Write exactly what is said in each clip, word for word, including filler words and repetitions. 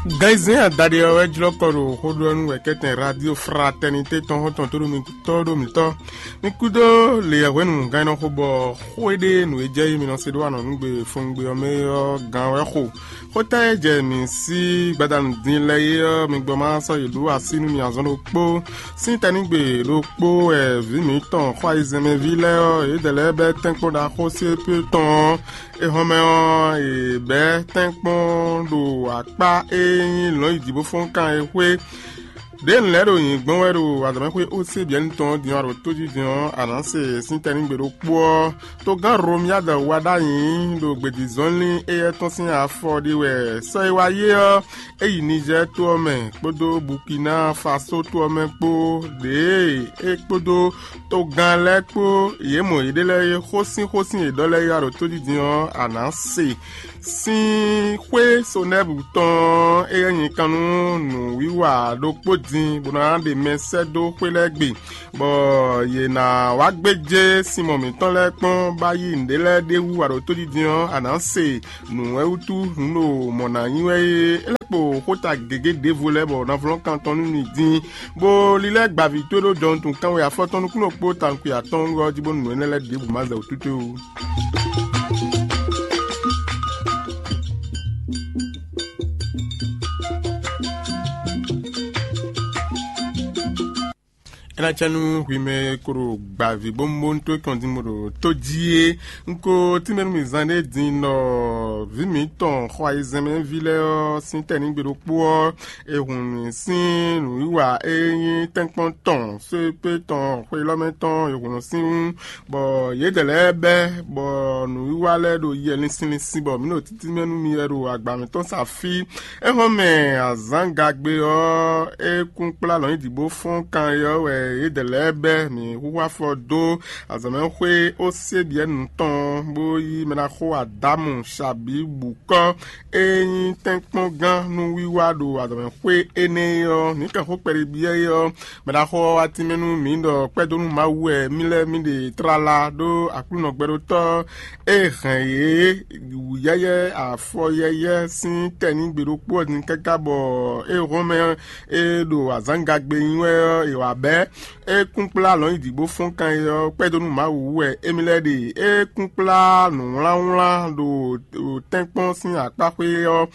Ganyizɛ́n adaɖé ɔ́ wɛ jlɔ́ kɔ ɖo xó ɖɔ nú wɛ̌kɛ́tɛn Radio Fraternité tɔn xɔ́ntɔn tó ɖo mi tɔ́ ɖo mǐtɔn. Mi kúdó lě hwenu gannɔxo bɔ xó e ɖe nǔ e jɛ yí mi nɔ se ɖó anɔ̌nugbe fɔngbe ɔ́ mɛ ɔ́ gán wɛ xo. Xóta e jɛ mǐ sí gbadanu din lɛ́ɛ é ɔ́, mi gbɔ ma sɔ́ yě ɖó así nú mi azɔn ɖokpó. Sín tɛnigbe ɖokpó wɛ vǐ mǐtɔn xɔ ayizɛ́nmɛví lɛ́ɛ ɔ́, yědɛɛ lɛ́ɛ bɛ́ tɛ́nkpɔ́n ɖaxó sé pé tɔn ɔ́. Éhɔ́nmɛ ɔ́, è bɛ̌ tɛ́nkpɔ́n ɖo akpá e nyí lɔ̌nyijǐ-bó-fɔ́nkan é xwé. Đěe nǔ lɛ́ɛ ɖo nyǐ gbɔn wɛ ɖo azɔ̌mɛxwé Osebiɛ́ni tɔn ɔ́ din ɔ́, a ɖo tójí din ɔ́, a nǎ se sín tɛnigbe ɖokpó ɔ́. Togán Romiyáda wá ɖ'ayǐ ɖo gbědizɔnlin éyɛ́ tɔn sín afɔ ɖi wɛ. Sɔ e wá yé ɔ́, é yi Nizɛ́ɛ to ɔ́ mɛ kpódó Bukina Faso to ɔ́ mɛ kpó. Ɖěe é kpódó togán lɛ́ɛ kpó, yě mɔ yěɖée lɛ́ɛ é xósínxósín e ɖɔ lɛ́ɛ yá ɖo tódídin ɔ́, a nǎ se. Sín xwé Sonɛ́bu tɔn ɔ́, éyɛ́ nyi kan nú nǔwiwa ɖokpó din, bó ná ɖe mɛ sɛ́ dó xwé lɛ́ɛ gbe, bɔ yě ná wá gbéjé sinmɔ mǐtɔn lɛ́ɛ kpɔ́n, bó ná yí nǔɖé lɛ́ɛ ɖ'é wú a ɖo tódídin ɔ́, a nǎ se nǔ wɛ wútu nǔ ɖo mɔ̌ ná nyí wɛ é. É lɛ́ kpo xóta gěgé ɖěvo lɛ́ɛ bɔ navlɔ́nkan tɔn nú mi dín, bó lílɛ́ gbaví towe ɖó jɔnutun kánwe afɔtɔn nukúnnú kpó tawun atɔ́ɔ́n ɔ́ jí bónú nǔ énɛ́ lɛ́ɛ ɖěbǔ ma zɛ wǔ tútú ó. É ná cɛ nú hwi mɛ e ko ɖo gbǎví bónúbónú tó kɔn din mo ɖo tó jí é. Un ko tínmɛ nú mi zán ɖé din ɖɔ vǐ mǐtɔn xɔ ayizɛ́nmɛví lɛ́ɛ ɔ́ sín tɛ́nǐgbe ɖokpó ɔ́, è hun mì sín nǔwiwa e nyí tɛ́nkpɔ́n tɔn sépé tɔn xwelɔ́mɛ tɔn è hun sín wú, bɔ yědɛɛ lɛ́ɛ bɛ́, bɔ nǔwiwa lɛ́ɛ ɖo yɛ linsin linsin, bɔ mǐ ɖo títí mɛ nú mi wɛ ɖo agba mǐtɔn sa fí. É hɔn mɛ azǎngagbe ɔ́, é kún kplá lɔ̌nyidǐ bó fɔ́n kan e ɔ́ wɛ yědɛɛ lɛ́ɛ bɛ́ mǐ húhú afɔ dó azɔ̌mɛxwé Osebiɛ́nu tɔn, bó yí mɛ ɖaxó Adamu Shabíbu kɔ́ e nyí tɛ́nkpɔ́ngán nú wiwa ɖo azɔ̌mɛxwé énɛ́ é ɔ́, mǐ kan xó kpɛɖé byɔ́ é ɔ́, mɛ ɖaxó ɔ́ wá tínmɛ nú mǐ ɖɔ kpɛ́dó nú Mawu wɛ mì lɛ́ mì ɖe tlala ɖó Aklúnɔ gbɛɖótɔ́ e hɛn yě wǔyɛ́yɛ́ afɔyɛ́yɛ́ sín tɛ́ nú gbe ɖokpó ɔ́ din káká bɔ é hɔn mɛ e ɖo azǎngagbe nyi wɛ ɔ́, è wǎ bɛ́. É kún kplá lɔ̌nyidǐ bó fɔ́n kan e ɔ́, kpɛ́dó nú Mawu wú wɛ émí lɛ́ɛ ɖe. É kún kplá nǔwlánwlán ɖo tɛ́nkpɔ́n sín akpáxwé ɔ́,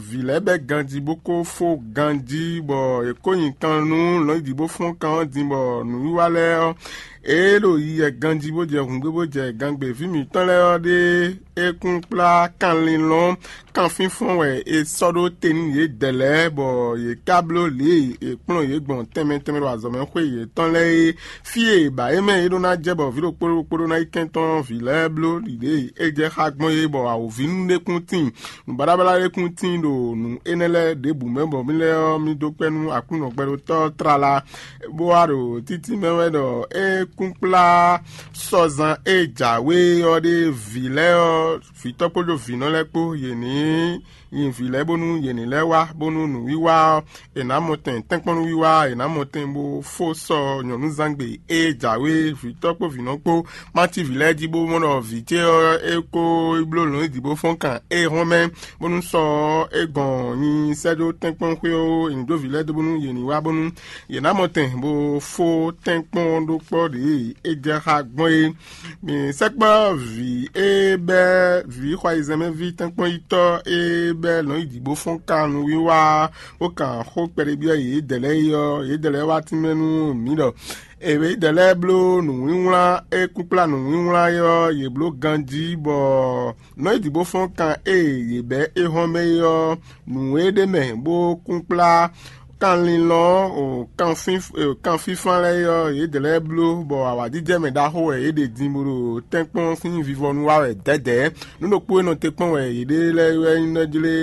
vǐ lɛ́ɛ bɛ́ ganjí bó kó fó ganjí, bɔ è kó nyi kan nú lɔ̌nyidǐ bó fɔ́n kan ɔ́ din, bɔ nǔwiwa lɛ́ɛ ɔ́, é ɖo yiyɛ ganjí bó jɛ hǔngbé bó jɛ gangbě fí mǐtɔn lɛ́ɛ ɔ́ ɖée. É kún kplá kanlin lɔn kanfínfɔ́n wɛ è sɔ́ ɖó te nú yědɛɛ lɛ́ɛ, bɔ yě ká bló lě e è kplɔ́n yě gbɔn tɛnmɛ tɛnmɛ ɖo azɔ̌mɛxwé yětɔn lɛ́ɛ é. Fí e è ba é mɛ é ɖó ná jɛ bɔ vǐ ɖokpó ɖokpó ɖó ná yi kɛn tɔn vǐ lɛ́ɛ bló ɖiɖě e é jɛ xá gbɔn é, bɔ awǒvi nú ɖé kún tíin, nǔbaɖábaɖá ɖé kún tíin ɖo nǔ énɛ́ lɛ́ɛ ɖěbǔ mɛ, bɔ mì lɛ́ɛ ɔ́, mì dó kpɛ́ nú Aklúnɔ gbɛɖótɔ́ tlala, bó wá ɖo títí mɛ wɛ ɖɔ é kún kplá sɔzan e jǎwe ɔ́ ɖe vǐ lɛ́ɛ ɔ́, vǐtɔ́ kpódó vǐnɔ lɛ́ɛ kpó, yě ní nyi vǐ lɛ́ɛ bónú yě ní lɛ́ wá, bónú nǔwiwa ɔ́, è nǎ mɔ tɛn tɛ́nkpɔ́núwiwa, è nǎ mɔ tɛn bó fó sɔ nyɔ̌núzangbe e jǎwe vǐtɔ́ kpó vǐnɔ kpó. Má cí vǐ lɛ́ɛ jí bó mɔ ɖɔ vǐ ce ɔ́ é kó bló lɔ̌nyidǐ bó fɔ́n kan é hɔn mɛ, bónú sɔ ɔ́ é gɔn nyi sɛ́ dó tɛ́nkpɔ́n xwé ɔ́, è nǐ dó vǐ lɛ́ɛ dó bónú yě ní wá bónú yě ná mɔ tɛn bó fó tɛ́nkpɔ́n ɖó kpɔ́ ɖě é jɛ xá gbɔn é. Mi sɛkpɔ́ vǐ e bɛ́ vǐ xɔ ayizɛ́nmɛví tɛ́nkpɔ́nyitɔ́ e bɛ́ lɔ̌nyidǐ bó fɔ́n kan nǔwiwa, bó kan xó kpɛɖé byɔ́ yědɛɛ lɛ́ɛ é ɔ́, yědɛɛ lɛ́ɛ wá tínmɛ nú mǐ ɖɔ è wě dɛɛ lɛ́ɛ bló nǔwlínwlán e kún kplá nǔwlínwlán é ɔ́, yě bló ganjí, bɔ lɔ̌nyidǐ bó fɔ́n kan e yě bɛ́ é hɔn mɛ é ɔ́, nǔ e ɖ'é mɛ bó kún kplá kanlin lɔ ɔ́, kanfínfán lɛ́ɛ é ɔ́, yědɛɛ lɛ́ɛ bló, bɔ awǎjijɛ mɛ ɖaxó wɛ yě ɖe din bó ɖo tɛ́nkpɔ́n sín vivɔnu wa wɛ dɛ̌dɛ̌. Nǔ ɖokpó e nɔ te kpɔ́n wɛ yěɖée lɛ́ɛ wɛ nyí nɔ jlé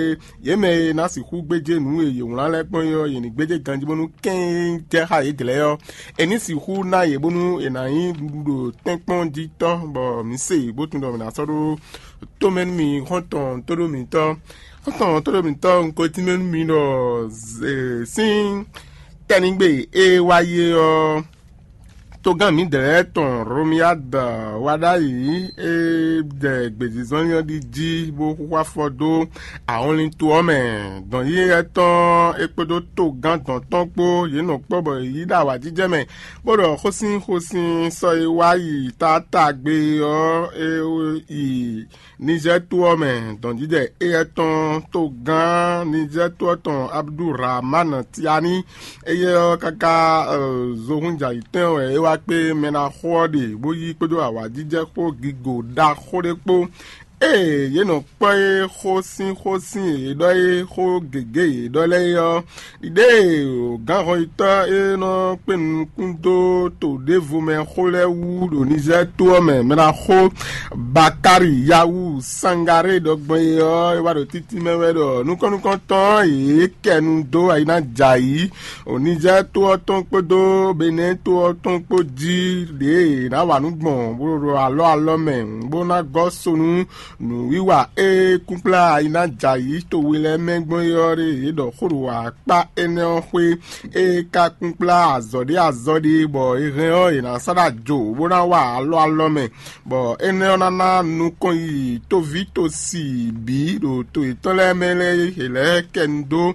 yě mɛ e ná sixú gbéjé nǔ e yě wlán lɛ́ɛ kpɔ́n é ɔ́, yě ní gbéjé ganjí bónú kɛ́n e jɛ xá yědɛɛ lɛ́ɛ ɔ́, è ní sixú ná yě bónú è nǎ nyí ɖuɖu ɖo tɛ́nkpɔ́n jí tɔ́, bɔ mǐ se bó tunwun ɖɔ mǐ ná sɔ́ ɖó tomɛ nú mi xɔ́ntɔn tóɖó mǐtɔn. Xɔ́ntɔn tóɖó mǐtɔn, un ko tínmɛ nú mi ɖɔ sín tɛ́nigbe e wá yi é ɔ́, Togán mǐdɛɛ lɛ́ɛ tɔn Romiyad wá ɖ'ayǐ, é ɖɛ gbězínzɔ́nlin ɔ́ ɖi jí bó xúxú afɔ dó ahɔnlin to ɔ́ mɛ. Dɔn yíyɛ tɔn é kpódó togán dɔn tɔn kpó, yě nɔ kpɔ́ bɔ yě yi ɖo awǎjijɛ mɛ, bó ɖɔ xósin xósin sɔ́ e wá yi taatagbe ɔ́, é yi Nizɛ́ɛ to ɔ́ mɛ. Dɔn jijɛ éyɛ́ tɔn togán Nizɛ́ɛ to ɔ́ tɔn Abdulrahman Tiani, éyɛ́ ɔ́ káká zohúnjǎyítɔn wɛ é wá kpé mɛ ná xo ɔ́ ɖe, bó yí kpódó awǎjijɛ kpó gigo ɖaxó ɖé kpó. Ée yě nɔ kpɔ́ é xó sín xó sín e è ɖɔ é xó gěgé e è ɖɔ lɛ́ɛ é ɔ́, ɖiɖée gǎnhɔnyitɔ́ e nɔ kpé nukún dó to ɖěvo mɛ xó lɛ́ɛ wú ɖo Nizɛ́ɛ to ɔ́ mɛ, mɛ ná xó Bakari Yawu Sangaré ɖɔ gbɔn é ɔ́, é wá ɖo títí mɛ wɛ ɖɔ nukɔn-nukɔntɔn e yě kɛ nu dó ayi ná jɛ ayǐ ɖo Nizɛ́ɛ to ɔ́ tɔn kpódó Benɛ́ɛ to ɔ́ tɔn kpó jí ɖě è nǎ wa nǔ gbɔn bó ɖo alɔ alɔ mɛ, bó ná gɔ́ so nú nǔwiwa e kúnkplá ayi ná jɛ ayǐ to we lɛ́ɛ mɛ gbɔn é ɔ́ ɖe. Yě ɖɔ xó ɖo akpá énɛ́ ɔ́ xwé, e ka kúnkplá azɔ̌ ɖé azɔ̌ ɖé, bɔ è hɛn ɔ́, è nǎ sɔ́ ɖo ajo bó ná wa alɔ alɔ mɛ, bɔ énɛ́ ɔ́ ná ná nukɔn yi tóví tosi bǐ ɖo to yětɔn lɛ́ɛ mɛ lɛ́ɛ e è lɛ̌ kɛ nu dó